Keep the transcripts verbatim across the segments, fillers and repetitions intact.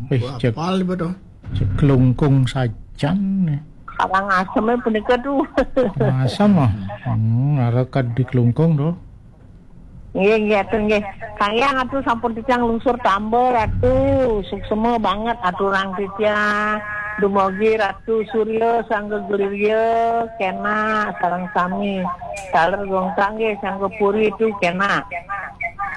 Wis cek, apal iku to? Cek Klungkung sajan nih. Karangasem punika tuh. Asam ah. Hmm, arep di Klungkung to. Nggih, nggih, atur nggih. Kayang atuh sampun titiang lungsur tamba, Ratu. Suksema banget aturang titiang. Dumogi Ratu Surya sangga Glirya kena sareng sami. Taler Gongkang nggih sangga Puri itu kena.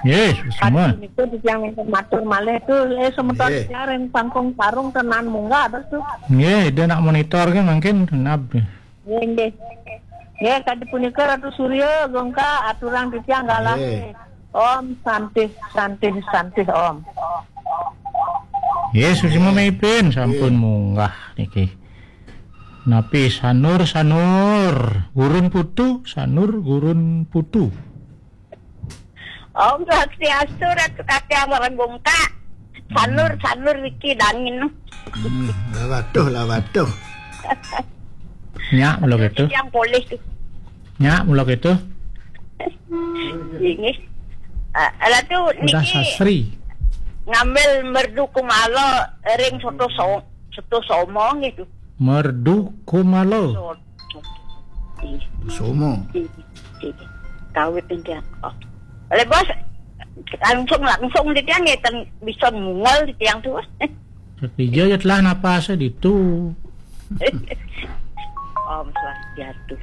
Nggih, suksema. Aduh, niku titiang matur malih tuh, eh, semeton nggih. Titiang ring Pangkung Parung tenan munggah terus tuh. Nggih, dia nak monitor kan mungkin nab. Nggih, nggih. Nggih, kadi punika Ratu Surya, Gongka, aturang titiang galah. Nggih. Om Santih, Santih, Santih Om. Nggih, suksema mipin sampun munggah niki. Napi Sanur, Sanur, Gurun Putu, Sanur, Gurun Putu. Om Swastiastu, Ratu Katyang Warang Gongka. Sanur, Sanur Wiki Dangin. Hmm, lah waduh, lah waduh. Nyak, mula gitu. Yang polih tuh. Nyak, mula gitu. Ini. Ah, Ratu udah niki sasri. Ngambil merdu kumalo ring soto so-, soto somong gitu. Merdu kumalo. Soto. Somo. Kawit ini dia. Oh. Oleh bos, langsung, langsung di tiang ya, ten-, bisa mungol di tiang tuh. Sakija ya telah napas ditu. Om Swastiastu.